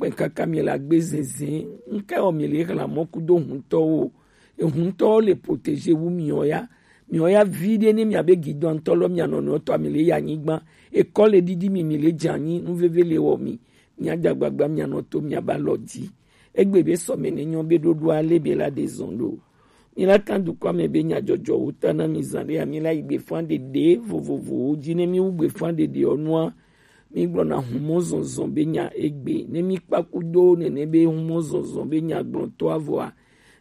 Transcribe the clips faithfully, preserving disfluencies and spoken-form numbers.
kpɛ kaka mi la gbe zɛnzɛn. Ŋkɛ wɔ mi le hlan mɔ kudo huntɔwo. Ehuntɔwo le protégé wu miɔ ya. Miɔ ya vi ɖe ne miabe gidɔntɔ lɔ mia nɔnɔ tɔ mi le ya nyigba. Ekɔ le didi mi mi le dza nyi nuveve le wɔ mi. Mia da gbagba mia nɔ to mia ba lɔ di. Egbe be sɔmɛ ne nyɔ be ɖoɖo ale be la de zɔn ɖo. Mi la kan dukɔ me be nya jɔjɔ wo ta na mi zan ɖe ya mi la yi gbe fan ɖeɖe vovovowo dzi ne mi wu gbe fan ɖeɖe ɔ nua. Mi gblɔna humɔ zɔnzɔn be nya egbe ne mi kpa kudo nene be humɔ zɔnzɔn be nya gblɔtɔ avɔa.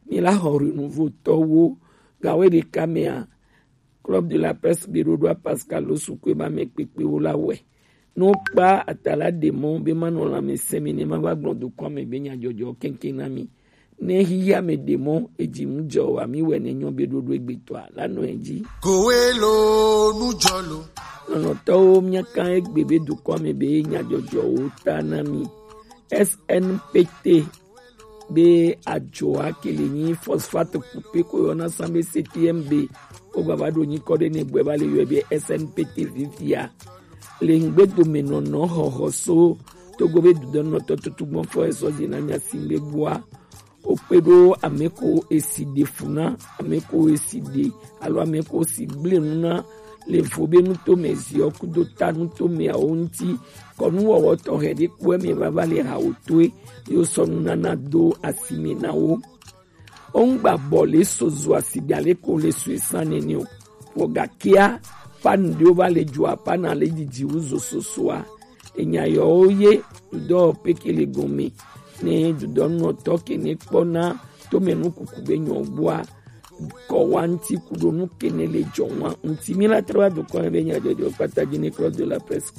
Mi la xɔ renouveau tɔwo gawe ɖeka mea. Club de la Presse be ɖoɖoa Pascal Losukue ba me kpekpewo la wɛ. Ne wokpa atala ɖe mɔ be manɔ lãmesẽ mi ne mava gblɔ dukɔa me be nyadzɔdzɔ keŋkeŋ na mi. Ne xixia me ɖe mɔ edzi nu dzɔ wa mi wɛ ne nyɔ be ɖoɖo egbetɔa la nɔ edzi. Kowe lo nu dzɔ lo. Nɔnɔtɔwo miaka egbe be dukɔa me be nyadzɔdzɔwo ta na mi. S N P T be ajoa ke le nyi phosphate kupe ko yɔna san be C T M B. Wo gbava ɖo nyikɔ ɖe ne gbɛ va le yɔe be S N P T vivia. Le ŋgbe dome nɔnɔ xɔxɔ so togo be dudɔnɔtɔ tutu gbɔn fɔ esɔ dzi na nya si be gbɔa. Wo kpe ɖo ame ko esi ɖe fu na, ame ko esi ɖe alo ame ko si gble nu na le vo be nutome ziɔ kudo ta nutome awo ŋuti. Kɔnuwɔwɔ tɔxɛ ɖe kpɔe me vava le hawo toe yo sɔ nunana do asime na wo. Wongba bɔ le so zo asi ɖe ale ko le so esan nene o. Vɔ gakea, pan ɖewo va le dzoa pan ale didi wu zo sosoa. Enya yɔwo ye dudɔ peke le gɔme. Ne dudɔnɔtɔ ke ne kpɔna tome nu kuku be nyɔ gbɔa kɔ wa ŋuti kudo nu ke ne le jɔ wa ŋuti mi la trɔ wa dukɔ be nya jɔjɔ kpata dzi ne Club de la Presse